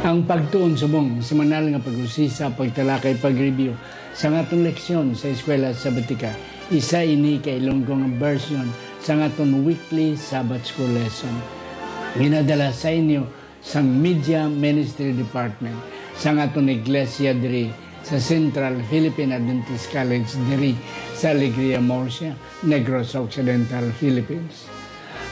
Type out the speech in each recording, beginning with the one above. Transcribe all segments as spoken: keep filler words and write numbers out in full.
Ang pagtuon subong semanal nga pag-usisa, pagtalakay, pag-review sa aton leksyon sa Eskwela Sabatika, isa ini ka Ilonggo nga version sa aton weekly Sabbath School lesson. Ginadala sa inyo sang Media Ministry Department sang aton iglesia diri sa Central Philippine Adventist College diri sa Alegria, Murcia, Negros Occidental, Philippines.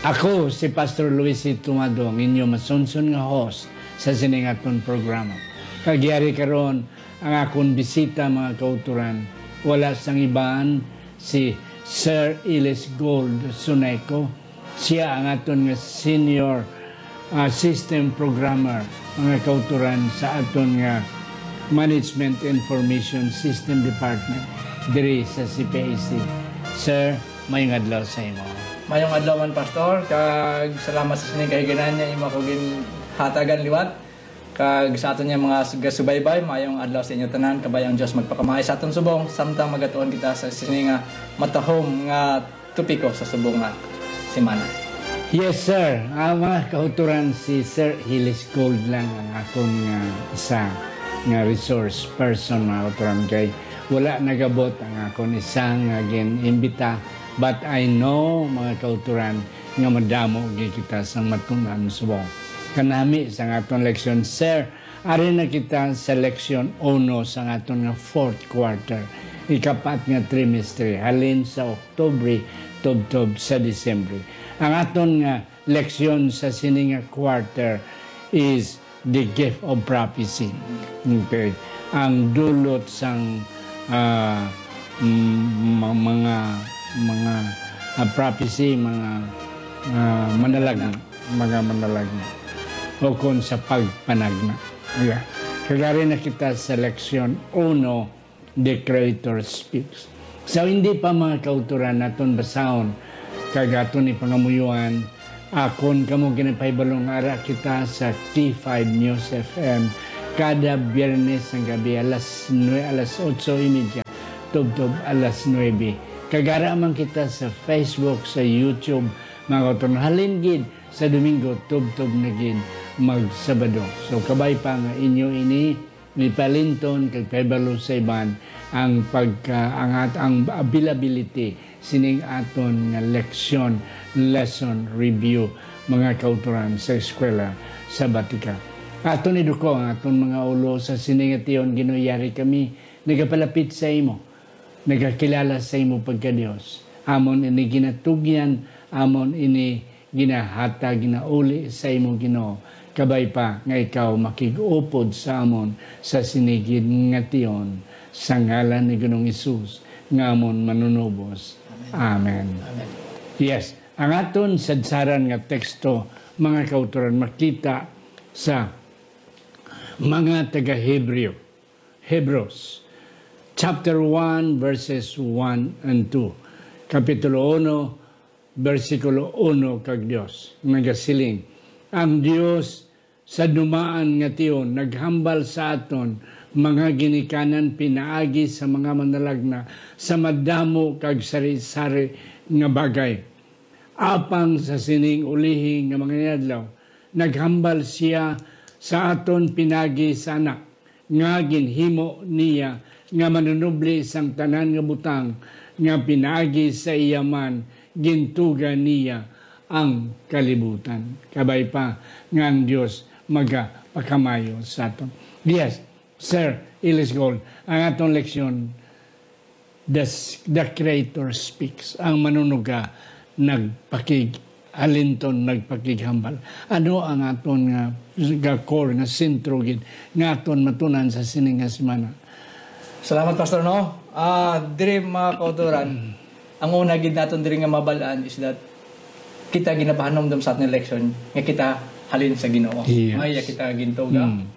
Ako si Pastor Luis C. Tumado, ang inyo masunson nga host sa sining aton programa. Kag yari karon ang akon bisita, mga kauturan, wala sang iban si Sir Ilis Gold Suneco. Siya ang aton nga senior, ah, system programmer, mga kauturan, sa aton nga Management Information System Department diri sa C P I C. Sir, mayong adlaw sa imo. Mayong adlaw man, Pastor, kag salamat sa sining kahiganan nga imo ako ginhatagan liwat. Kag sa aton nga mga gasubaybay, mayong adlaw sa inyo tanan. Kabay ang Dios magpakamay sa aton subong, samtang magatuon kita sa sini nga matahom nga topiko sa subong nga semana. Yes, sir. Ah, mga kauturan, si Sir Hilis Gold lang ang akon nga isa nga resource person, mga kauturan, kay wala nagabot ang akon isa nga gin-imbita. But I know, mga kauturan, nga madamo gid kita sang matun-an subong. Kanami sang aton leksyon, sir, ari na kita sa leksyon uno sang aton nga fourth quarter, ikapat nga trimestre, halin sa Oktubre tubtob sa Disyembre. Ang aton nga leksyon sa sini nga quarter is the gift of prophecy. Okay. Ang dulot sang, ah, mm, ma-, mga, mga, ah, prophecy, mga, ah, manalagna, mga manalagna. O kon sa pagpanagna. Yeah. Kagari na kita sa leksyon uno, The Creator Speaks. So, hindi pa, mga kauturan, naton basahon kag aton ipangamuyuan, akon kamo ginapahibalo nga ara kita sa T five News F M kada Biyernes sang gabi, alas nue-, alas otso y media tubtob alas nuebe. Kag ara man kita sa Facebook, sa YouTube, mga kauturan. Halin gid sa Domingo, tubtob na gid mag-Sabado. So, kabay pa nga inyo ini, may palinton kag pahibalo sa iban ang pagka-, ang at-, ang availability sining aton nga leksyon, lesson review, mga kauturan sa Eskwela Sabatika. Aton iduko ang aton mga ulo sa sini nga tion. Ginoo, yari kami nagapalapit sa imo, nagakilala sa imo pagka-Dios. Amon ini ginatugyan, amon ini ginahatag, ginauli sa imo, Ginoo. Kabay pa nga ikaw makig-upod sa amon sa sini gid nga tion, sa ngalan ni Ginoong Hesus nga amon Manunubos. Amen. Amen. Amen. Yes, ang aton sadsaran nga teksto, mga kauturan, makita sa mga taga-Hebreo. Hebrews chapter one, verses one and two. Kapitulo uno, bersikulo uno kag dos. Nagasiling, "Ang Dios sa dumaan nga tion naghambal sa aton mga ginikanan pinaagi sa mga manalagna sa madamo kag sari-sari nga bagay. Apang sa sining ulihi nga mga inadlaw, naghambal sia sa aton pinaagi sa Anak, nga ginhimo niya nga manunubli sang tanan nga butang, nga pinaagi sa iya man gintuga niya ang kalibutan." Kabay pa nga ang Dios magapakamayo sa aton. Yes, Sir Ilis Gold, ang aton leksyon, the s-, the Creator speaks. Ang Manunuga nagpakig-, halinton, nagpakighambal. Ano ang aton nga, nga core, nga sentro gid, nga aton matunan sa sini nga semana? Salamat, Pastor, no? Ah, diri, mga kauturan, ang una gid naton diri nga mabal-an is that kita ginapahanumdom sa aton leksyon nga kita halin sa Ginoo. Yes. Nga iya kita gintuga. Mm.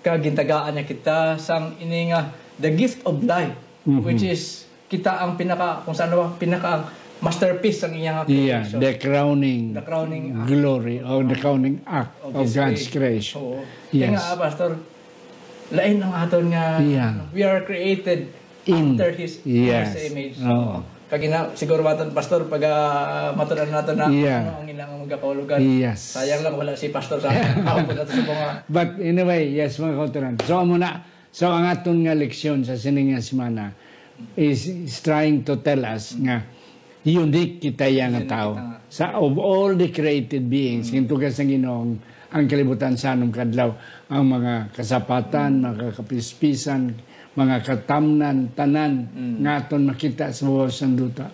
Kag gintagaan niya kita sang ini nga the gift of life, Mhm. which is kita ang pinaka, kung sa ano ba, pinaka masterpiece sang iya nga Yeah, creation. The crowning The crowning act. glory or the crowning act Of of His God's creation. creation. Oo. Yes. Kaya nga, ah, Pastor, lain ang aton nga Yeah. we are created In, after His, yes. His image. Oo. Kag ina, siguro, matan, Pastor, pag, ah, matunan nato na, Yeah. ano, ang ilang mga kaulugan. Yes. Sayang lang wala si Pastor sa ako po nato sa mga But anyway, yes, mga kauturan. So, amo na. So, ang aton nga leksyon sa sini nga semana is, is trying to tell us nga unique kita ya nga Unique tao. kita nga. Sa, of all the created beings, Mm. gintuga sang Ginoo ang kalibutan sa anum kadlaw, ang mga kasapatan, Mm. mga kapispisan, mga katamnan, tanan Mm. nga aton makita sa babaw sang duta.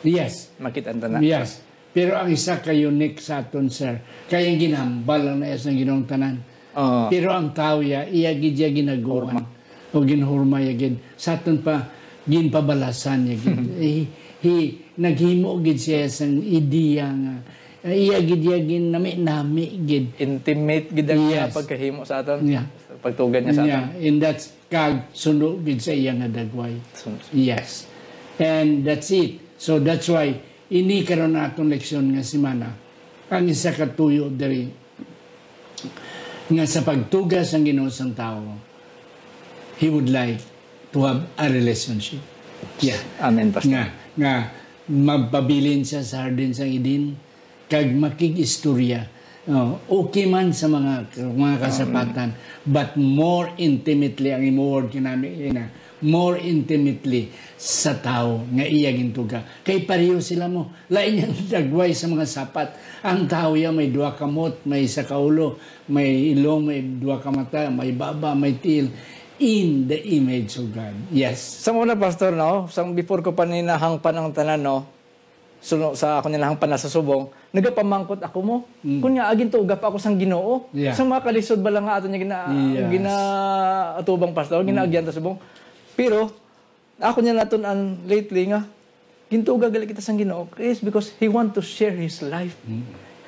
Yes. Makita ang tanan. Yes. Pero ang isa ka unique sa aton, sir, kay ang ginhambal lang na sa Ginoong tanan. Oo. Pero ang tawo ya, iya gid ya ginaguan. Hurma. O ginhurma ya gid. Sa aton pa, ginpabalasan ya gid. He, he, naghimo gid siya sang ideya nga, ah, iya gid ya ginami-nami gid. Intimate gid ang Yes. pagkahimo sa aton. Yeah. Pagtugan niya sa Yeah, aton. and that's kag suno gid sa iya nga dagway. Suno. Yes. And that's it. So that's why ini karon aton leksyon nga semana, ang isa ka tuyo diri nga sa pagtuga sang Ginoo sang tawo, he would like to have a relationship. Yeah. Amen, Pastor. Nga, nga magpabilin siya sa hardin sang Eden, kag makig-istorya. Oh, okay man sa mga, mga kasapatan, but more intimately, ang imo word kinami ina, more intimately sa tawo nga iya gintuga. Kay pareho sila mo. Lain ang dagway sa mga sapat. Ang tawo ya may duha ka mot, may isa ka ulo, may ilong, may duha ka mata, may baba, may tiil. In the image of God. Yes. Sa una, Pastor, no? Sang before ko pa ni nahangpan ang tanan, no? Suno sa ako ni nahangpan na sa subong, nagapamangkot ako mo. Mm. Kun nga, gintuga pa ako sang Ginoo. Yeah. Sa mga kalisod bala nga ato niya gina-, Yes. ginaatubang, Pastor, Mm. ginaagyan ta subong. Pero, ako niya natun-an lately nga, gintuga gali kita sang Ginoo is because He want to share His life. Mm.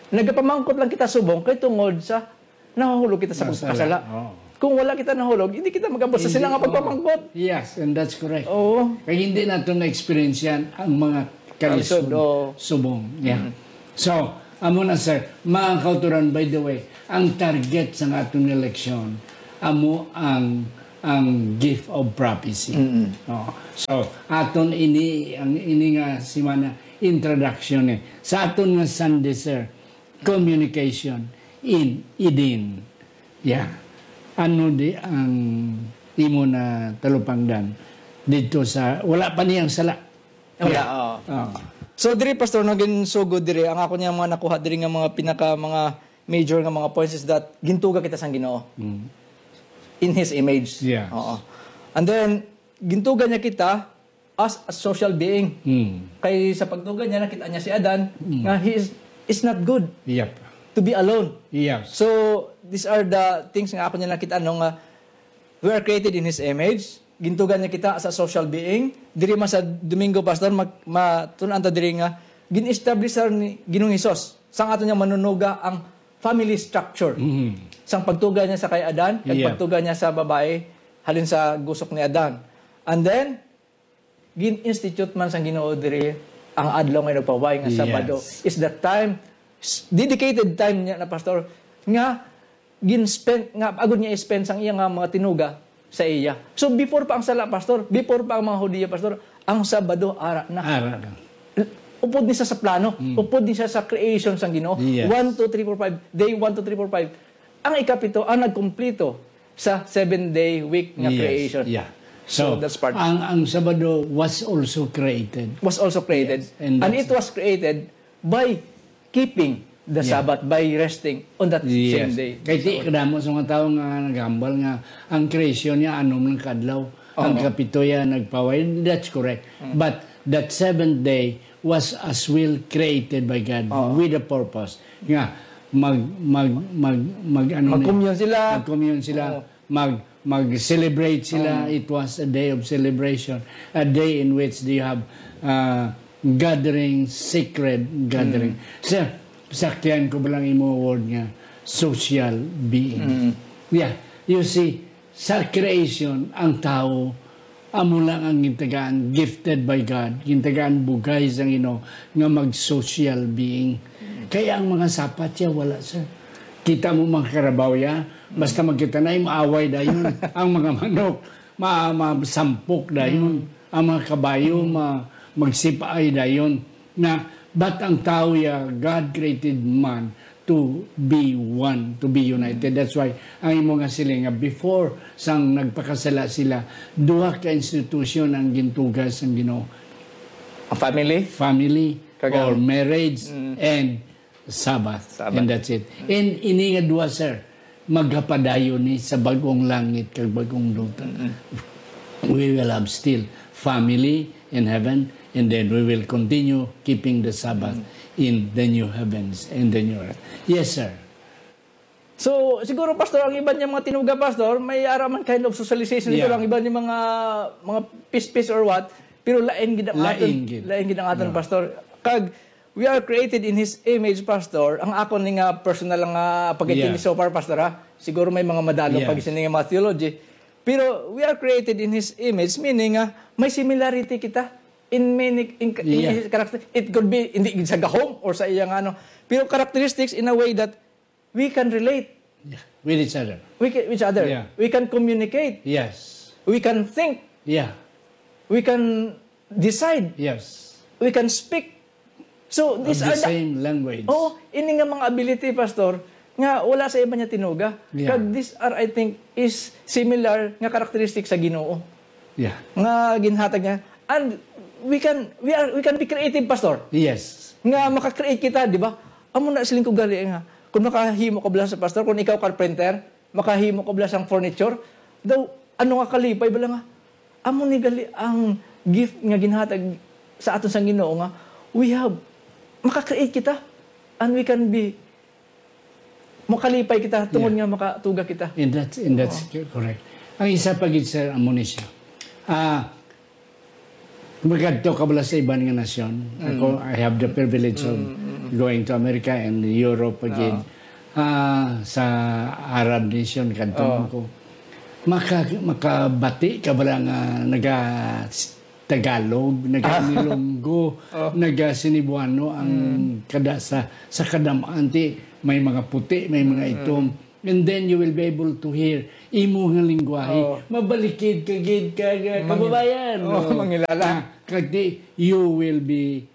Nagapamangkot lang kita subong kay tungod sa nahulog kita sa Masala. pagpakasala. Oo. Kung wala kita nahulog, hindi kita mag-abot sa Hindi, sila nga oo. pagpamangkot. Yes, and that's correct. Oo. Kay hindi nato na-experience yan ang mga Kalisod, kalisod, oo. subong. Yeah. Mm. So, amo na, sir, mga kauturan, by the way, ang target sa aton nga leksyon, amo ang, ang gift of prophecy. Mm-mm. Oh. So, aton ini, ang ini nga semana, introduction eh. Sa aton nga Sunday, sir, communication in Eden. Yeah. Ano di ang imo na talupangdan dito sa, wala pa niyang sala? Wala, Yeah. oo. Oo. So, diri, Pastor, no, ginsugod diri, ang ako niya mga nakuha diri nga mga pinaka, mga major nga mga points is that gintuga kita sang Ginoo. Mm. In His image. Yes. Oo. And then, gintuga niya kita as a social being. Mm. Kay sa pagtuga niya, nakita niya si Adan Mm. nga he is, is not good Yep. to be alone. Yes. So, these are the things nga ako niya nakita, no, nga we are created in His image. Gintuga niya kita as a social being. Diri man sa Domingo, Pastor, mag-, matun-an ta diri nga gin-establish sa ni Ginoong Hesus sang ato niya manunuga ang family structure. Mm. Sang pagtuga niya sa kay Adan, kag Yeah. pagtuga niya sa babae, halin sa gusok ni Adan. And then, gin-institute man sang Ginoo diri ang adlaw nga nagpahuway nga Sabado Yes. is the time, s-, dedicated time niya na, Pastor, nga gin-spend, nga agud niya i-spend sang iya nga mga tinuga sa iya. So, before pa ang sala, Pastor, before pa ang mga Hudiyo, Pastor, ang Sabado ara na. Ara na. Upod ni siya sa plano, Mm. upod ni siya sa creation sang Ginoo. Yes. One, two, three, four, five. Day one, two, three, four, five. Ang ikapito, ang nagkumplito sa seven-day week nga Yes. creation. Yeah. So, So, that's part. ang, ang Sabado was also created. Was also created. Yes, and And that's it was created by keeping the Yeah. Sabbath, by resting on that same Yes. day. Kay di, So, kadamo sa mga tao nga naghambal nga ang creation niya, anom lang kadlaw. Ang Oo. kapito ya nagpahuway. That's correct. Mm. But that seventh day was as well created by God Oo. with a purpose. Nga, mag, mag, mag, mag, ano na Mag-commune sila. Mag-commune sila. Oo. Mag, mag-celebrate sila. Oo. It was a day of celebration, a day in which they have, uh, gathering, sacred gathering. Mm. Sir, sakyan ko ba lang imo word nga social being? Mm. Yeah, you see, sa creation, ang tao, amo lang ang gintagaan, gifted by God, gintagaan bugay sa Ginoo nga mag-social being. Kaya ang mga sapat siya, wala, sir. Kita mo mga karabaw ya, basta magkita na, maaway dayon. Ang mga manok, ma-, masampok dayon. Mm. Ang mga kabayo, Mm. ma-, Magsipay dayon na, but ang tao ya, God created man to be one, to be united. That's why ang imo nga siling nga before sang nagpakasala sila, duha ka institution ang gintuga sang Ginoo. Ang family? Family Kag ang or marriage Mm. and Sabbath. Sabbath. And that's it. And ini nga duha, sir, magapadayon ni sa bag-ong langit kag bag-ong duta. We will have still family in heaven, and then we will continue keeping the Sabbath in the new heavens and the new earth. Yes, sir. So, siguro, Pastor, ang iban niya mga tinuga, Pastor, may ara man kind of socialization ito Yeah. lang, iban niya mga, mga pispis or what, pero lain gid ang Lain aton, gid. lain gid ang aton, Yeah. Pastor. Kag, we are created in His image, Pastor. Ang akon ni nga personal nga pagkintindi Yeah. so far, Pastor, ha? Siguro may mga madalo Yes. pag sini nga mga theology. Pero we are created in His image, meaning nga may similarity kita in many in, in Yeah. His character. It could be hindi sa gahom or sa iyang ano, pero characteristics in a way that we can relate Yeah. With each other. we can, each other. Yeah. We can communicate. Yes. We can think. Yeah. We can decide. Yes. We can speak. So, Of these the are the, same language. Oh, ini nga mga ability, Pastor, nga wala sa iban niya tinuga. Yeah. Kag these are, I think, is similar nga characteristic sa Ginoo. Yeah. Nga ginhatag niya. And we can, we are, we can be creative, Pastor. Yes. Nga maka-create kita, di ba? Amo na siling ko gali nga, kung makahimo ka bala sa, Pastor, kung ikaw carpenter, makahimo ka bala sang furniture, daw, ano nga kalipay bala nga, amo ni gali ang gift nga ginhatag sa aton sang Ginoo nga we have, maka-create kita, and we can be, makalipay kita tungod Yeah. nga makatuga kita. And that's, and that's correct. Ang isa pa gid, sir, amo ni siya. Ah, magadto ka bala sa iban nga nasyon. Ako, I have the privilege of going to America and Europe again. Ah, sa Arab nation kadto Oo. man ko. Maka, makabati ka bala nga naga Tagalog, naga Ilonggo, naga Cebuano ang kada sa sa kadam-an, ti may mga puti, may mga itom. And then you will be able to hear imo nga lingwahe. Oo. Mabalikid ka gid ka, ka Mangi- kababayan. Oo, mangilala. Ah, kag di, you will be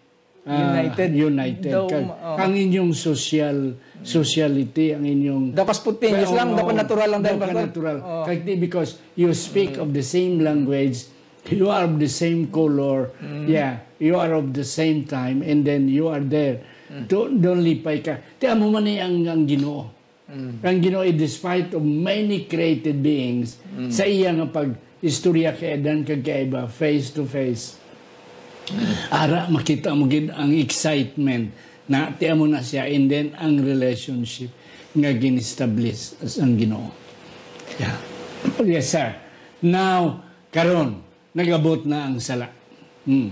ah, United. United. Daw, Kag oo. Ang inyong social, sociality, ang inyong Daw ka spontaneous lang, Oo, daw ka natural lang, daw Pastor. ka natural. Oo. Kag di, because you speak of the same language, you are of the same color, yeah, you are of the same time, and then you are there. Don't, don't lipay ka. Ti amo man ni ang, ang Ginoo. Ang Ginoo, despite of many created beings, sa iya nga pag-istorya kay Adan kag kay Eva face to face, ara makita mo gid ang excitement na ti amo na siya, and then ang relationship nga gin-establish sang Ginoo. Yeah. Yes, sir. Now, karon, nag-abot na ang sala. Hmm.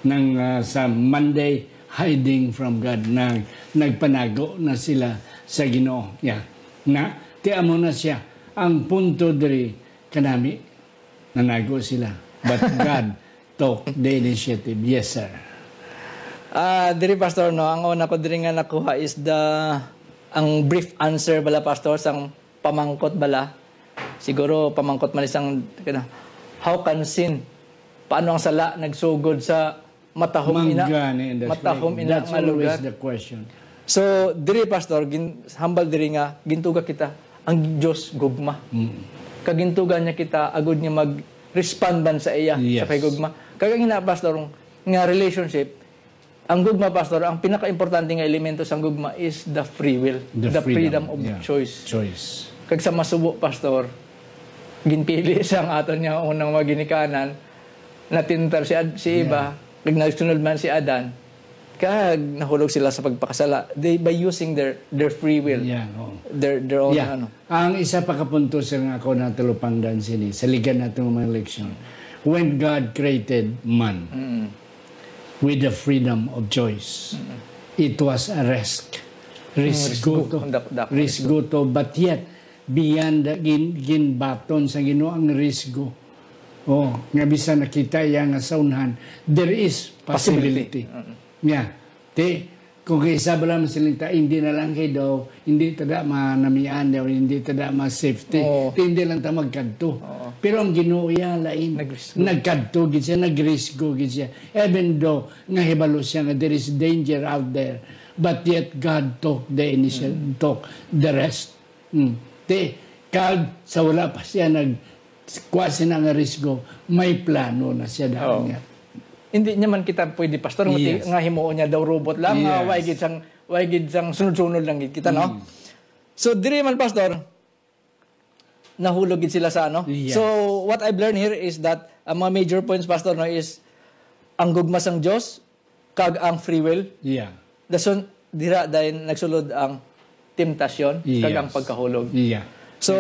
Nang, ah, sa Monday, hiding from God, nag, nagpanago na sila sa Ginoo. Yeah. Na, ti amo na siya. Ang punto diri, kanami, nanago sila. But God took the initiative. Yes, sir. Ah, diri, Pastor, no, ang una ko diri nga nakuha is the, ang brief answer bala, Pastor, sang pamangkot bala. Siguro pamangkot man isang, how can sin? Paano ang sala nagsugod sa matahom ina? Manggani, and that's Matahom correct. ina That's nga always lugar. The question. So, diri, Pastor, gin, hambal diri nga gintuga kita ang Dios gugma. Mm. Kag gintuga niya kita agud nga mag-respond man sa iya Yes. sa kay gugma. Kag ang ina, Pastor, nga relationship, ang gugma, Pastor, ang pinaka-importante nga elemento sang gugma is the free will, The the freedom. freedom of Yeah. choice. Choice. Kag sa masubo, Pastor, ginpili sang aton nga unang mga ginikanan, natintar si Ad, si Eva, kag nagsunod man si Adan, kag nahulog sila sa pagpakasala. They, by using their their free will, Yeah, oo. their their own Yeah. ano. Ang isa pa ka punto, sir, nga ako natalupangdan sini, sa ligan nato nga mga leksyon, when God created man Mm. with the freedom of choice, it was a risk. Risgo risgo. to. Ang dak-, dak-, Risgo to. But yet, beyond the gin, ginbaton sa Ginoo ang risgo. Oh, nga bisan nakita iya nga sa unhan, there is possibility. Possibility. Mm. Yeah. Ti, Kung kay isa bala man sila ta, hindi na lang kay daw, hindi ta da manamian daw, hindi ta da ma-safety. Oo. Hindi lang ta magkadto. Oo. Pero ang Ginoo iya lain. Nagrisgo. Nagkadto gid siya, nagrisgo gid siya. Even though nga hibalo siya nga there is danger out there, but yet God took the initial, Mm. took the rest. Mm. Ti, kag sa wala pa siya nag kuha sina nga risgo, may plano na siya daan Oo. nga. Hindi niya man kita pwede, Pastor, nga ti-, Yes. nga himuon niya daw robot lang, nga Yes. way gid sang, way gid sang sunod-sunod lang gid kita, no? Mm. So, diri man, Pastor, nahulog gid sila sa ano? Yes. So, what I've learned here is that ang mga major points, Pastor, no, is ang gugma sang Dios kag ang free will. Yeah. Dason, dira dayon nagsulod ang temptasyon kag ang Yes. pagkahulog. Yeah. So,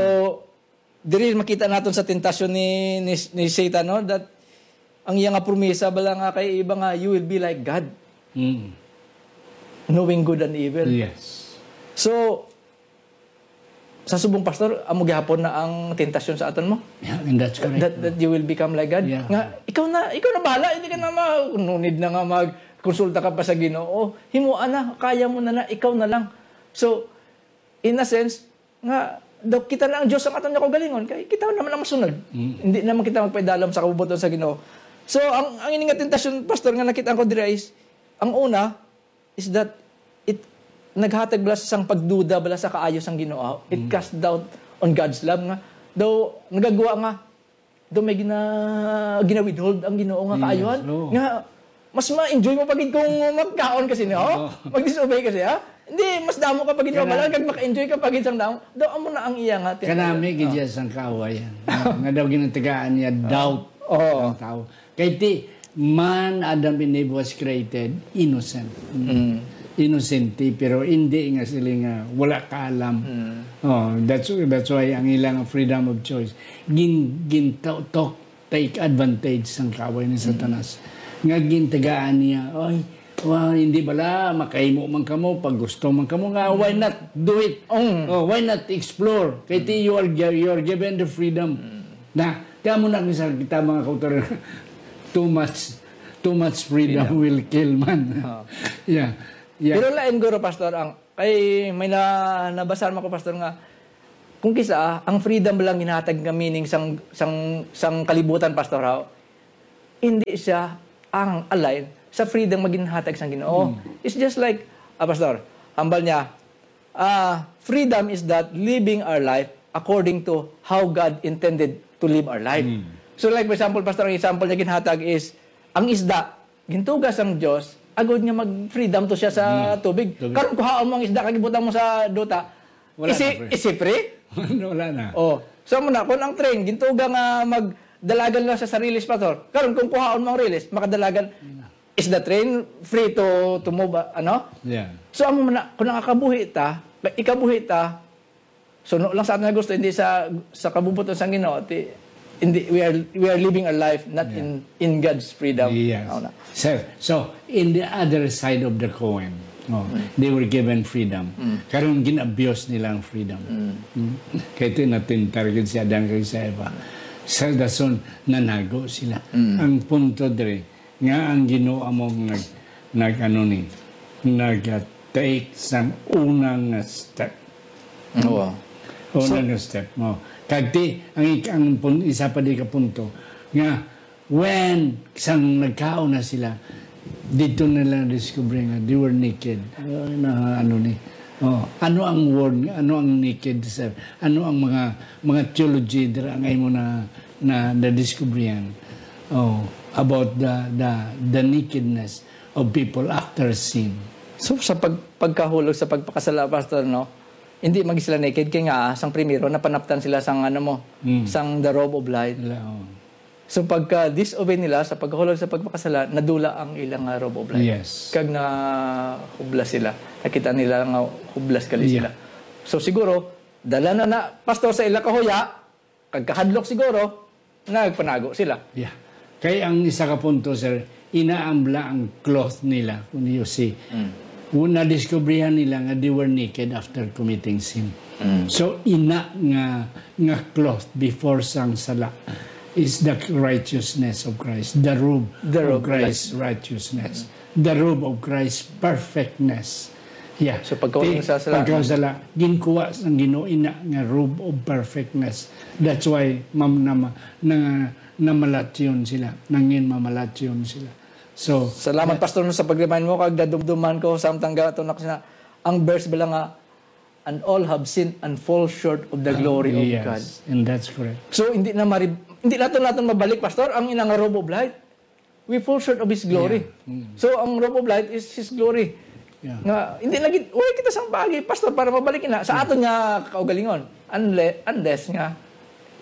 diri makita naton sa tentasyon ni, ni, ni Satan, no, that ang iya nga promesa bala nga kay iba nga, "You will be like God, Mm. knowing good and evil." Yes. So, sa subong, Pastor, amo gihapon na ang tentasyon sa aton mo? Yeah, and that's correct. That, that you will become like God. Yeah. Nga, ikaw na, ikaw na bahala, hindi ka na ma-, no need na nga magkonsulta ka pa sa Ginoo. Himuan na, kaya mo na na, ikaw na lang. So, in a sense, nga, daw kita na ang Dios ang aton nga kaugalingon, kay kita naman ang masunod. Mm. Hindi naman kita magpaidalom sa kabubuton sa Ginoo. So, ang, ang ini nga tentasyon, Pastor, nga nakita ko dira is, ang una, is that it naghatag bala sang pagduda bala sa kaayo sang Ginoo. It Mm. cast doubt on God's love nga daw nagagwa nga daw may gina-, gina-withhold ang Ginoo nga Yes, kaayuhan. oo. Nga mas ma-enjoy mo pa gid kung magkaon ka sini, oh? Oo. Mag-disobey ka siya. Hindi, mas damo ka pa gid Kana- mabala, kag maka-enjoy ka pa gid sang damo. Daw amo na ang iya nga Kanami gid siya sang kaawayan. Nga daw ginatagaan niya doubt Oo. ang tao. Kay ti, man, Adam and Eve was created innocent. Mm. Inosente, pero hindi nga sila nga wala kaalam. Mm. Oh, that's, that's why ang ilang freedom of choice. Gin, gin to-, to-, take advantage sang kaaway ni Mm. Satanas. Nga gintagaan niya, "Ay, wa, hindi bala, makahimo man kamo, pag gusto man kamo, nga, why not do it? Mm. Oh, why not explore? Kay ti, you are gi-, you are given the freedom." Mm. Na, kaya mo na sa kita mga kautoran, too much, too much freedom Freedom. will kill man. Oh. Yeah. Yeah. Pero lain guro, Pastor, ang, kay may na, nabasa naman ko, Pastor, nga kung kisa, ang freedom lang ginhatag nga meaning sang, sang, sang kalibutan, Pastor, ha? Hindi siya ang align sa freedom nga ginhatag sang Ginoo. Hmm. It's just like, ah, Pastor, hambal niya, ah, freedom is that living our life according to how God intended to live our life. Hmm. So, like, for example, Pastor, ang example niya ginhatag is, ang isda, gintuga sang Dios, agod nga mag-freedom to siya sa Hmm. tubig. Tubig. Karon, kuhaon mo ang isda, kag ibutang mo sa duta, Wala is na, it, pre. is it free? Wala na. Oh, so mo na, kung ang train, gintuga nga magdalagan lang sa, sa release, Pastor. Karon, kung kuhaon mo ang release, makadalagan, Wala. is the train free to, to move, ah, ano? Yeah. So, amo man na, kung nakakabuhi ta, ikabuhi ta, suno lang sa aton nga gusto, hindi sa, sa kabubuton sang Ginoo, ti, hindi, we are, we are living a life not Yeah. in, in God's freedom. Yes. Ano na? Sir, so, in the other side of the coin, oh, Mm. they were given freedom. Mm. Karon, gin-abuse nila ang freedom. Mm. Mm. Kay ti natintar gid si Adan kag si Eva. Sa dason, nanago sila. Mm. Ang punto diri, nga ang Ginoo amo nag, nag, ano ni, nag, uh, take sang una nga step. Oo. Una So nga step, mo. Kag ti, ang ik-, ang pun-, isa pa di ka punto, nga when sang nagkaon na sila, dito nila discover nga they were naked. Ano, na, ano ni? Oh, ano ang word, ano ang naked, sir? Ano ang mga, mga theology dira nga imo na, na, nadiskubrihan? Oh, about the, the, the nakedness of people after sin. So, sa pag-, pagkahulog sa pagpakasala, Pastor, no? Hindi man sila naked kay nga, ah, sang primero, napanaptan sila sang, ano mo, Mm. sang the robe of light. Wala, oh. So, pagka disobey nila sa pagkahulog sa pagpakasala, nadula ang ilang, ah, robe of light. Yes. Kag nahublas sila. Nakita nila nga hublas gali Yeah. sila. So, siguro, dala na na, Pastor, sa ila kahuya, kag kahadlok siguro, nagpanago sila. Yeah. Kay ang isa ka punto, sir, ina ang bla ang cloth nila, kung you see. Mm. Nadiskubrihan nila nga they were naked after committing sin. Mm. So, ina nga, nga cloth before sang sala is the righteousness of Christ, the robe The of robe of Christ's righteousness. Mm. The robe of Christ, perfectness. Yeah. So, pagkahuling Ti-, sa sala, pagkasala, ginkuha sang Ginoo ina nga robe of perfectness. That's why, mam-, nama-, nang-, namalatyon sila, nangin mamalatyon sila. So, Salamat, that Pastor, no, sa pag-remind mo, kag nadumduman ko, samtang gato na ko sina-, ang verse bala nga, "And all have sinned and fall short of the Ah, glory of God." Yes, and that's correct. So, hindi na mari-, hindi naton, naton mabalik, Pastor, ang ina nga robe of light. We fall short of His glory. Yeah. Mm. So, ang robe of light is His glory. Yeah. Nga, hindi na gid, wala kita sang bagay, Pastor, para mabalik na sa Yeah. aton nga kaugalingon. Unle-, unless nga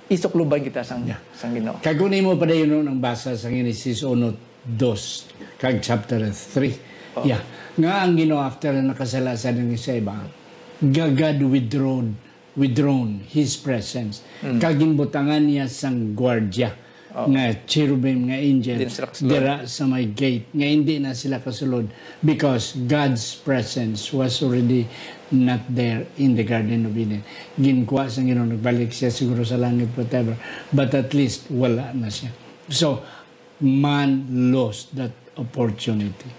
isukluban kita sang, Yeah. sang Ginoo. Kag kung imo padayon ang basa sa Genesis uno, dos, kag chapter three. Oh. Yeah. Nga ang Ginoo, after na nakasala sa nang isa iba, ga-, God withdrawn, withdrawn His presence. Mm. Kag ginbutangan niya sang gwardya Oh. nga cherubim nga angel Din sila kasulod. dira sa may gate, nga hindi na sila kasulod, because God's presence was already not there in the Garden of Eden. Ginkuha sa Ginoo, nagbalik siya siguro sa langit, whatever. But at least, wala na siya. So, man lost that opportunity.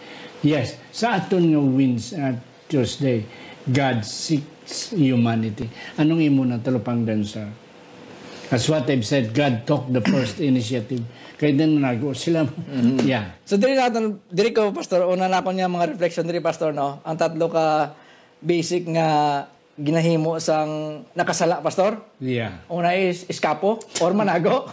Yes, sa aton nga Wednes-, uh, Tuesday, God seeks humanity. Anong imo na talupangdan, sir? As what I've said, God took the first initiative. Kay din nago sila. Mhm. Yeah. So, diri naton, diri ko, Pastor, una na ako niya mga reflection diri, Pastor, no? Ang tatlo ka basic nga ginahimo sang nakasala, Pastor. Yeah. Una is eskapo or manago.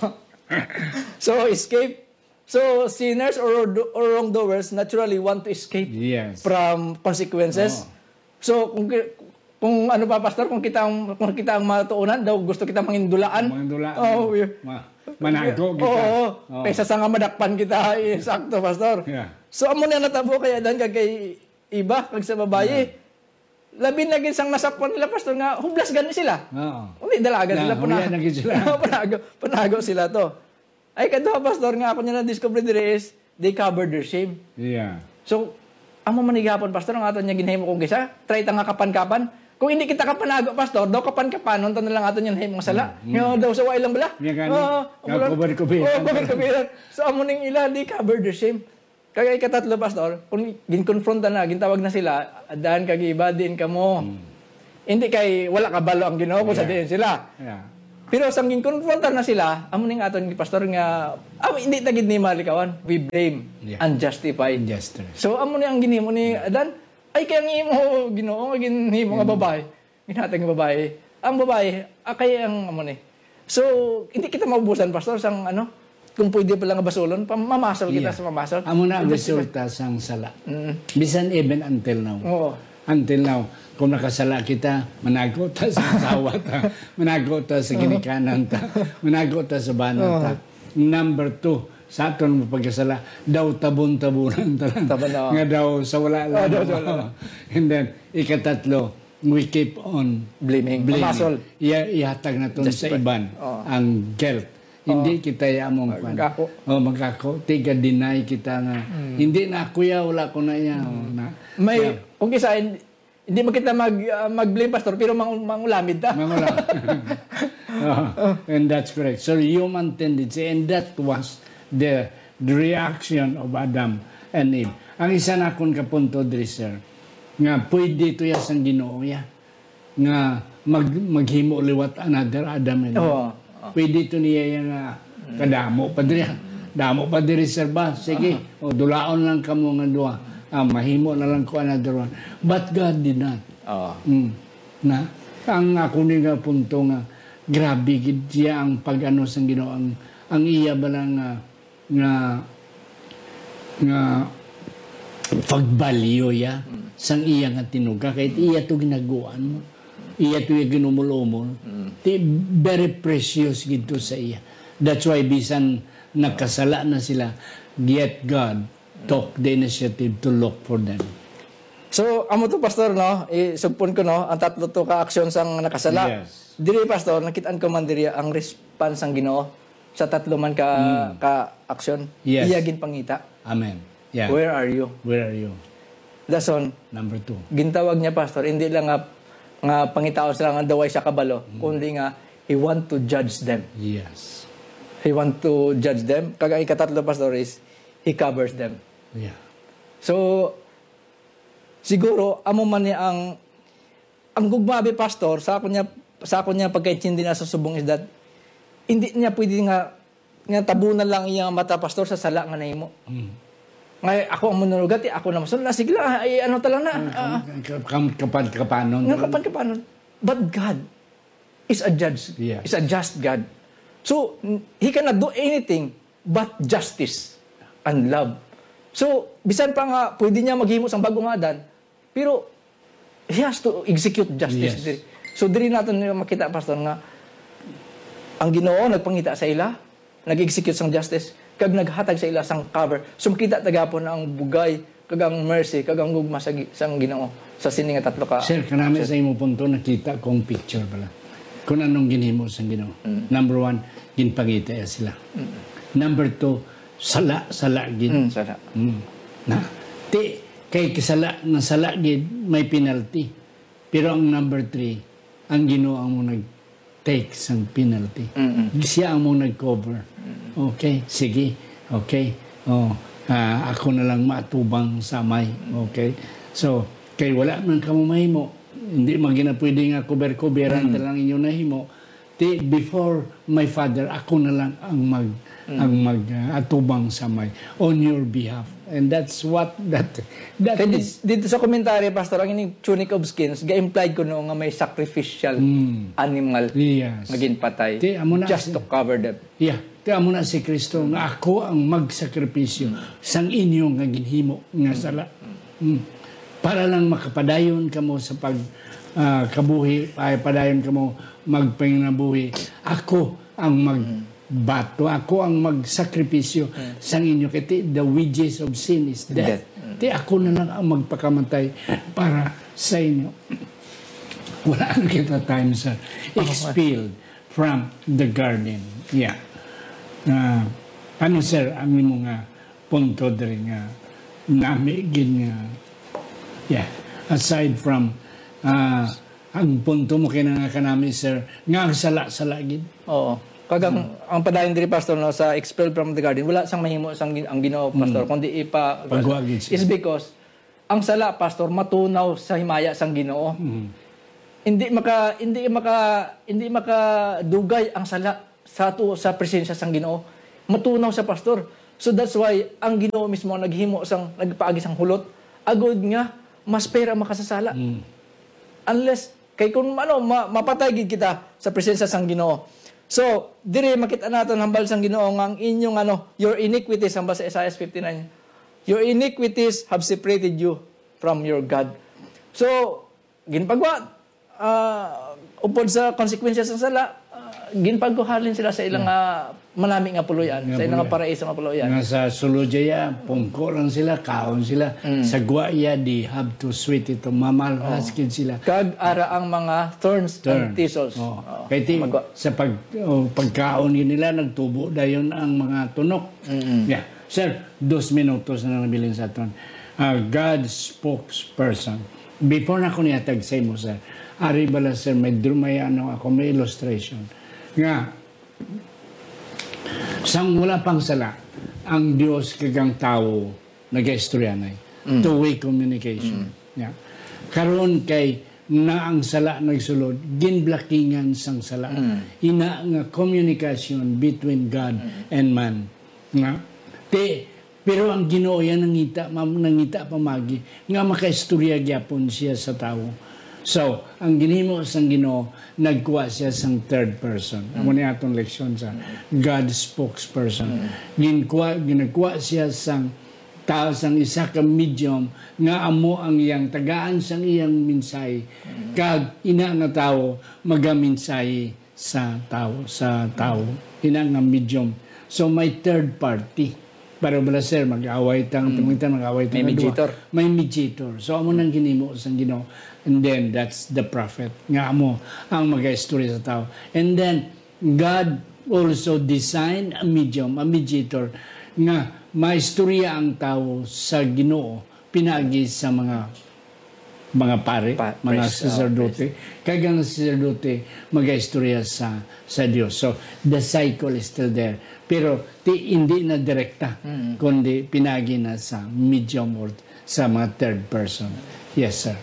So, escape. So, sinners or do-, or wrongdoers naturally want to escape Yes. from consequences. Oh. So, kung ki-, kung ano ba, Pastor, kung kita ang, kung kita ang matuunan, daw gusto kita mangindulaan. Mangindulaan. Oh, yeah. Ma-, manago kita. Oo, oo. Oh. Kaysa sa nga madakpan kita, eh, sakto, Pastor. Yeah. So, amo na natabo kay Adan kag kay Eva, kag sa babayi. Yeah. Labi na gid sang nasapwan nila, Pastor, nga hublas gani sila. Oo. Undi, dalagan Yeah, sila, huya pana-, na gid sila. panago, panago sila to. Ay, kaduha, Pastor, nga ako niya na-discover diri is, they covered their shame. Yeah. So, amo man ni gihapon, Pastor, ang aton niya ginahimo kung kisa, try ta nga kapan-kapan. Kung hindi kita kapanago, Pastor, daw kapan-kapanon ta na lang aton niya nahimo nga sala. Mm, mm. Nga daw sa way lang bala. Nga gani, Oo, nga wala. kubar-kubiran. Oo, kubar-kubiran. So, amo ning ila, they covered their shame. Kag ikatatlo, Pastor, kung ginkonfronta na, gintawag na sila, "Adan kag Eva, diin kamo?" Hmm. Hindi kay wala kabalo ang Ginoo kung sa Yeah. diin sila. Yeah. Pero sang ginkonfronta na sila, amo ning aton, Pastor, nga, ah, hindi ta gid ni malikawan. We blame Yeah. and justify. Justify. So, amo ni ang ginhimo ni Yeah. Adan. Ay, kay ang imo, Ginoo, nga ginhimo nga Hmm. babae. Ginhatag nga babae. Ang babae, ah, kay ang amo ni. So, hindi kita maubusan, Pastor, sang ano, kung pwede pala nga basulon, pa-, mamasol kita Yeah. sa mamasol. Amo na ang Hindi kita resulta sang sala. Mm. Bisan even until now. Oo. Until now, kung nakasala kita, manago ta sa asawa ta, manago ta sa Oo. ginikanan ta, manago ta sa bana ta. Oo. Number two, sa aton nga pagkasala, daw tabon-tabunan ta lang. Tabon, oo. Nga daw sa wala Oo, lang. daw sa wala lang. And then, ikatatlo, we keep on Blaming. blaming. Pamasol. Iya-, ihatag naton sa Justify. iban Oo. ang guilt. Oo. Hindi kita ya among kwan. Magako. Oh, magako. Tiga-deny kita nga, Mm. "Hindi na ako ya, wala ko na ya." Mm. Oh, na, May, yeah. kung kisa, hindi, hindi man kita mag, ah, mag-blame, Pastor, pero mang-, mangulamid ta. Mangulamid. Oh, and that's correct. So, human tendency, and that was the, the reaction of Adam and Eve. Ang isa na akon ka punto diri, sir, nga pwede to ya sang Ginoo ya, nga mag-, maghimo liwat another Adam and Eve. Oo. Pwede to niya ya nga Mm. kadamo pa diri. Mm. Damo pa diri, sir, ba? Sige, Aha. o, dulaon lang kamo nga duha. Ah, mahimo na lang ko another one. But God did not. Oo. Mm. Na, ang ako ni nga punto nga, grabe gid siya ang pag-ano sang Ginoo, ang, ang iya bala nga, nga, nga pagbalyo ya Mm. sang iya nga tinuga, kay iya to ginaguan mo. Iya to iya ginumol-umol. Mm. Ti, very precious gid to sa iya. That's why bisan nakasala na sila, yet God took the initiative to look for them. So, amo to, Pastor, no? Isugpon ko, no? Ang tatlo to ka aksyon sang nakasala. Yes. Diri, Pastor, nakit-an ko man diri ang response sang Ginoo sa tatlo man ka, Mm. ka aksyon. Yes. Iya ginpangita. Amen. Yeah. Where are you? Where are you? Dason, Number two. gintawag niya, Pastor, hindi lang nga, nga pangitaon sila nga daw way siya kabalo, Mm. kundi nga he want to judge them. Yes. He want to judge them. Kag ang ikatatlo, Pastor, is he covers them. Yeah. So, siguro, amo man ni ang, ang gugma, abi, Pastor, sa ako niya, sa ako niya pagkaintindi na sa subong is that, hindi niya pwede nga, nga tabunan lang iya nga mata, Pastor, sa sala nga nahimo. Mm. Nga ako ang manulugat, eh, ako na masunod. Ah, sige lang, ah, ay, ano ta lang na. Ah, ah. Kam-, kam-, kapan-, kapanon. Nga kapan-, kapanon. But God is a judge, Yes. is a just God. So, n-, He cannot do anything but justice and love. So, bisan pa nga pwede niya maghimo sang bag-o nga Adan, pero He has to execute justice Yes. diri. So, diri naton makita, Pastor, nga ang Ginoo nagpangita sa ila, nag-execute sang justice, kag naghatag sa ila sang cover. So, makita ta gihapon ang bugay, kag ang mercy, kag ang gugma sa gi-, sang Ginoo sa sini nga tatlo ka Sir, kanami sa imo punto, nakita ko ang picture pala. Kung anong ginhimo sang Ginoo. Mm. Number one, ginpangita sila. Mm. Number two, sala, sala gid. Mm, sala. Mm. Na, ti, kay kasala, nasala gid, may penalty. Pero ang number three, ang Ginoo ang mo nag-take sang penalty. Mm-mm. Siya ang mo nag-cover. Mm. Okay, sige. Okay. Oh, ah, ako na lang maatubang sa amay. Okay. So, kay wala man kamo mahimo, hindi man gina pwede nga cover-coveran Mm. ta lang inyo nahimo. Ti, before my Father, ako na lang ang mag, Mm. ang mag, ah, atubang sa amay on your behalf. And that's what, that, that Kay di-, is dito sa komentaryo, Pastor, ang ining tunic of skins, ga-implied ko no nga may sacrificial Mm. animal Yes. nga ginpatay Ti, amo na just si to cover them. Yeah. Ti, amo na si Kristo nga ako ang magsakripisyo Mm. sang inyo nga ginhimo nga sala. Mm. Para lang makapadayon kamo sa pag, ah, kabuhi, ay padayon kamo magpanginabuhi. Ako ang Mm. magbato, ako ang magsakripisyo Mm. sang inyo. Kay ti, the wages of sin is death. Death. Mm. Ti, ako na lang ang magpakamatay para sa inyo. Wala na kita time, sir. Oh, Expelled from the garden. Yeah. Ah, ano, sir, ang imo nga punto diri nga nami gid nga, yeah, aside from, ah, ang punto mo kay na nga kanami, sir, nga ang sala-sala gid. Oo. Kag ang, ang padayon diri, Pastor, no, sa expelled from the garden, wala sang mahimo sang gin-, ang Ginoo, Pastor, Mm. kundi ipa-, Pagwa gid siya. It's because ang sala, Pastor, matunaw sa himaya sang Ginoo. Mm. Hindi maka-, hindi maka-, hindi makadugay ang sala sa ato, sa presensya sang Ginoo. Matunaw sa, Pastor. So that's why ang Ginoo mismo ang naghimo sang, nagpaagi sang hulot, agod nga mas pera makasasala. Mm. Unless, kay kung ano, ma-, mapatay gid kita sa presensya sang Ginoo. So, diri makita naton hambal sang Ginoo nga ang inyong, ano, your iniquities, hambal sa Isaiah fifty-nine, "Your iniquities have separated you from your God." So, ginpagwa, ah, upod sa konsekwensya sa sala, ah, ginpagwa halin sila sa ilang, Yeah. ah, manami nga puloy-an, Nga sa ilang puloy-an. paraiso nga puloy-an. Nga sa sulod iya, pungko lang sila, kaon sila. Mm. Sa gwa iya, they have to sweat ito, mamalhas Oh. gid sila. Kag ara ang mga thorns and Thorns. thistles. Oh. Oh, Kay ti, magwa. sa pag, oh, pagkaon yun nila, nagtubo dayon ang mga tunok. Mm-mm. Yeah. Sir, dos minutos na nabilin sa aton. Ah, God spokesperson. Before na ko nihatag sa imo, sir, ari bala, sir, may drum-, may ano ako, may illustration. Nga, sang wala pang sala, ang Dios kag ang tawo nagaistoryanay. Mm. Two-way communication. Mm. Yeah. Karon kay na ang sala nagsulod, ginblakingan sang sala. Mm. Ina nga communication between God Mm. and man. Nga, ti, pero ang Ginoo iya nangita, ma-, nangita pamagi nga makaistorya gyapon siya sa tawo. So, ang ginhimo sang Ginoo, nagkuha siya sang third person. Amo Mm. ni atong leksyon sa Mm. God spokesperson. Mm. Ginkuha, ginagkuha siya sang tawo, sang isa ka medium nga amo ang iyang tagaan sang iyang mensahe. Mm. Kag ina nga tawo magamensahe sa tawo, sa tawo. Ina nga medium. So, may third party. Para bala, sir, mag-away ta, Mm. pamangita, mag-away ta May nga duha. mediator. May mediator. So, amo nang ginhimo sang Ginoo. And then, that's the prophet. Nga amo ang mag-istorya sa tawo. And then, God also designed a medium, a mediator, nga maistorya ang tawo sa Ginoo pinagi sa mga, mga pare, Pa-, mga priest, oh, saserdote. Kag ang saserdote magaistorya sa, sa Dios. So, the cycle is still there. Pero ti, hindi na direkta, Mm. kundi pinagi na sa medium or sa mga third person. Yes, sir.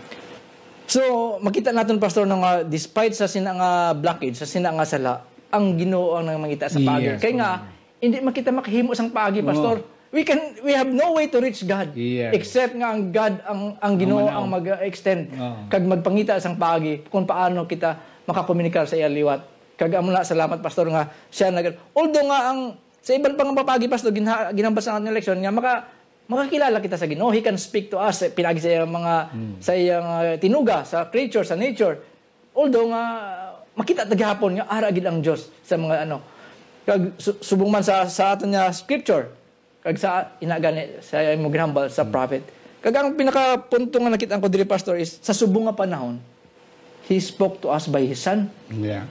So, makita naton, Pastor, no, nga despite sa sina nga blockage, sa sina nga sala, ang Ginoo ang nangmangita sa paagi. Yes, Kay nga, oo. Hindi man kita makahimo sang paagi, Oo. Pastor. We can, we have no way to reach God Yes. except nga ang God, ang, ang Ang Ginoo manaw. ang mag-extend Oo. kag magpangita sang paagi kung paano kita makakomunikar sa iya liwat. Kag amo na, salamat, Pastor, nga siya nag-, although nga ang, sa iban pa nga paagi, Pastor, ginha-, ginhambal sa aton leksyon nga maka-, makakilala kita sa Ginoo. He can speak to us, eh, pinaagi sa iyang mga, Hmm. sa iyang, uh, tinuga, sa creature, sa nature. Although nga makita ta gihapon nga ara gid ang Dios sa mga ano. Kag su-, subong man sa, sa aton nga scripture, kag sa ina gani sa imo ginhambal sa Hmm. prophet. Kag ang pinakapunto nga nakita ko diri, Pastor, is sa subong nga panahon, he spoke to us by his son. Yeah.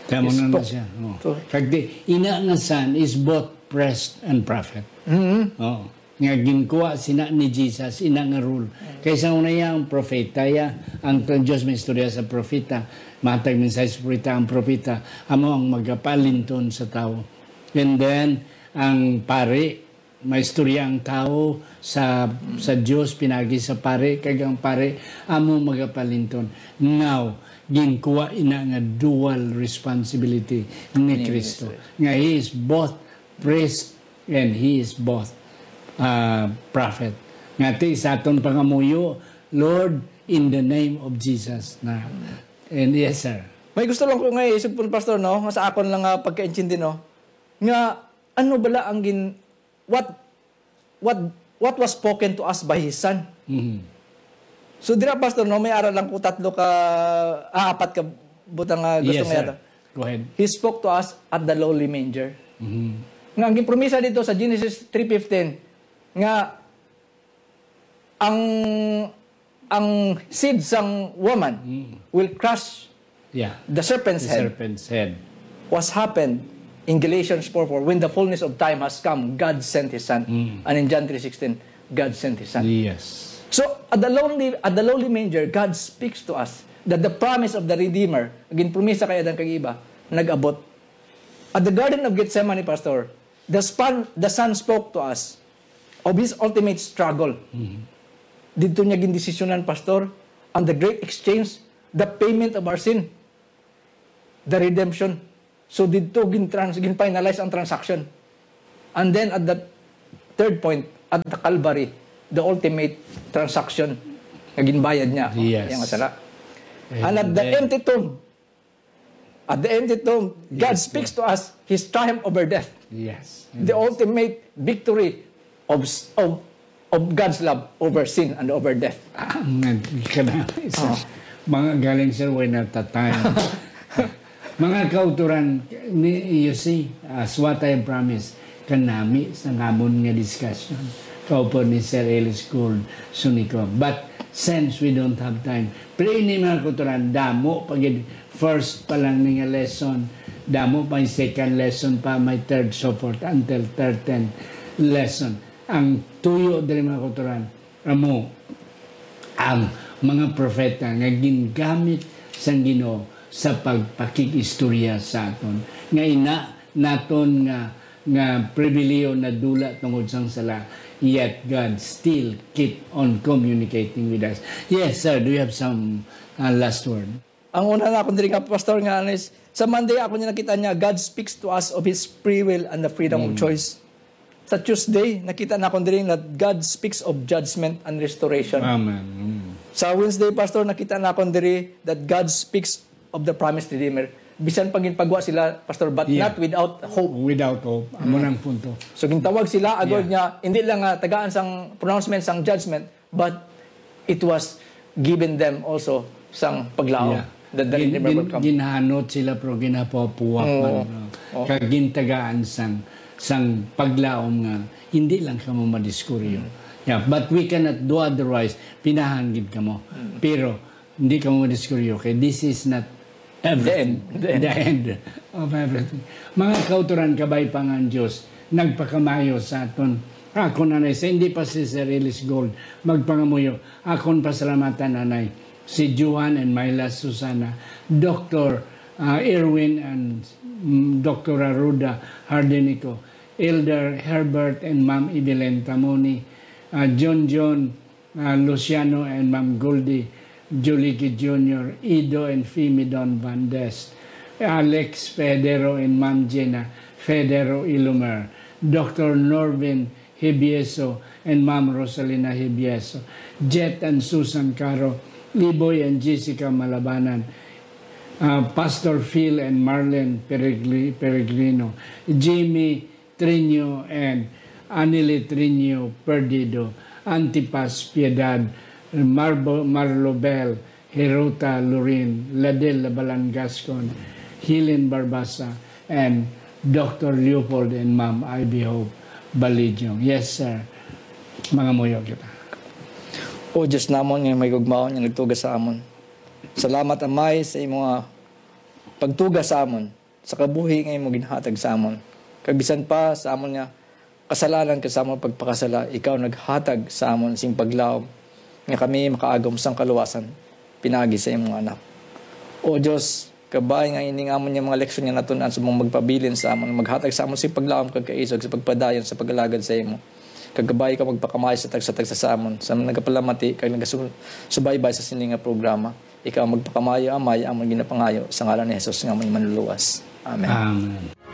Tama He na na spoke siya. Oh. to Kag di, ina nga son is both priest and prophet. Mhm. Oh. Nga ginkuha sina ni Jesus, ina nga role. Kay sa una iya ang propeta, ya, ang, ang Dios may istorya sa propeta, matag mensahe sa propeta, ang propeta, amo ang magapaalinton sa tawo. And then, ang pari, may istorya ang tawo sa, sa Dios, pinagi sa pari, kag ang pari, amo magapaalinton. Now, ginkuha ina nga dual responsibility ni Ni Kristo. Kristo. Nga he is both priest and he is both, uh, prophet. Nga ti sa aton pangamuyo, Lord, in the name of Jesus. Na, and yes, sir. May gusto lang ko nga isugpon, Pastor, no? Nga sa akon lang nga pagkaintindi, no? Nga ano bala ang gin-, what, what, what was spoken to us by his son? Mhm. So, dira, Pastor, no, may ara lang ko tatlo ka, ah, apat ka butang nga gusto Yes, nga sir. yata. Go ahead. He spoke to us at the lowly manger. Mhm. Nga ang ginpromisa dito sa Genesis three fifteen, nga ang, ang seed sang woman Mm. will crush Yeah. the serpent's The head. serpent's head. What's happened in Galatians four four, "When the fullness of time has come, God sent His Son." Mm. And in John three sixteen, "God sent His Son." Yes. So, at the lonely, at the lowly manger, God speaks to us that the promise of the Redeemer, ginpromisa kay Adan kag Eva, nag-abot. At the Garden of Gethsemane, Pastor, the span-, the Son spoke to us of His ultimate struggle. Mhm. Didto niya gindesisyonan, Pastor, ang the great exchange, the payment of our sin, the redemption. So, didto gin-trans-, gin-finalize ang transaction. And then, at the third point, at the Calvary, the ultimate transaction nga ginbayad niya, Yes. iyang sala. And And at the then empty tomb, at the empty tomb, God Yes, speaks Lord. to us His triumph over death. Yes. The Yes. ultimate victory of s-, of, of God's love over sin and over death. Ah, ang nag-, kanami, sir. Oh. Mga galing, sir, way na tatay. Mga kauturan, ni-, you see, as what I promised, kanami sa namon nga discussion. Kaupo ni Sir Ellis Gold Sunico. But since we don't have time, pero ini, mga kauturan, damo pa gid, first pa lang ni nga lesson, damo pa yung second lesson pa, may third, so forth, until thirteenth lesson. Ang tuyo diri, mga kauturan, amo ang mga propeta nga gingamit sang Ginoo sa pagpakig-istorya sa aton. Nga ina naton nga, nga pribilihiyo nadula tungod sang sala, yet God still keep on communicating with us. Yes, sir. Do you have some, uh, last word? Ang una na akon diri nga, Pastor, nga ano is, sa Monday ako niya nakita niya, God speaks to us of His free will and the freedom of Mm. choice. Sa Tuesday, nakita na akon diri that God speaks of judgment and restoration. Amen. Mm. Sa Wednesday, Pastor, nakita na akon diri that God speaks of the promised Redeemer. Bisan pa ginpagwa sila, Pastor, but Yeah. not without hope. Without hope. Amo Mm. nang punto. So, gintawag sila, agod Yeah. niya, hindi lang nga tagaan sang pronouncement, sang judgment, but it was given them also sang paglaom Yeah. that the Gin-, Redeemer will gin-, come. ginhanot sila, pero ginapuapuak Oo. man, no? Oo. Kag gintagaan sang, sang paglaom nga hindi lang kamo madiskuryo. Mm. Yeah, but we cannot do otherwise. Pinahan gid kamo. Mm. Pero hindi kamo madiskuryo kay this is not everything. The end. The end. The end of everything. Mga kauturan, kabay pa nga ang Diyos nagpakamayo sa aton. Ako, Nanay, sa hindi pa si Sir Ellis Gold magpangamuyo, akon pasalamatan, Nanay, si Johan and Myla Susana, Doctor, ah, Erwin and, mm, Doctora Rhoda Hardenico, Elder Herbert and Ma'am Evelyn Tamoni, ah, John John, uh, Luciano and Ma'am Goldie Julique Junior, Ido and Fimi Don Van Dest, Alex Federo and Ma'am Gina Federo Ilumer, Doctor Norvin Hibieso and Ma'am Rosalina Hibieso, Jet and Susan Caro, Iboy and Jessica Malabanan, uh, Pastor Phil and Marlene Peregli-, Peregrino, Jimmy Trinio and Anile Trinio Perdido, Antipas Piedad, Marbo-, Marlobel, Herota Lorin, Ladel Labalan Gascon, Helen Barbasa, and Doctor Leopold and Ma'am Ivy Hope Balidyong. Yes, sir. Mangamuyo kita. O Diyos namon nga may gugmaon nga nagtuga sa amon. Salamat, Amay, sa imo nga pagtuga sa amon, sa kabuhi nga imo ginhatag sa amon. Kag bisan pa sa amon nga kasalanan kag sa amon pagpakasala, ikaw naghatag sa amon sing paglaom nga kami makaagom sang kaluwasan pinaagi sa imong Anak. O Dios, kabay nga ining amon nga mga leksyon nga natun-an subong magpabilin sa amon, maghatag sa amon sing paglaom kag kaisog sa pagpadayon sa pag-alagad sa imo. Kag kabay ka magpakamay sa tagsa-tagsa sa amon, sa mga nagapalamati kag nagasubaybay sa sini nga programa. Ikaw magpakamaayo, Amay, amon ginapangayo sa ngalan ni Jesus nga amon Manluluwas. Amen. Amen.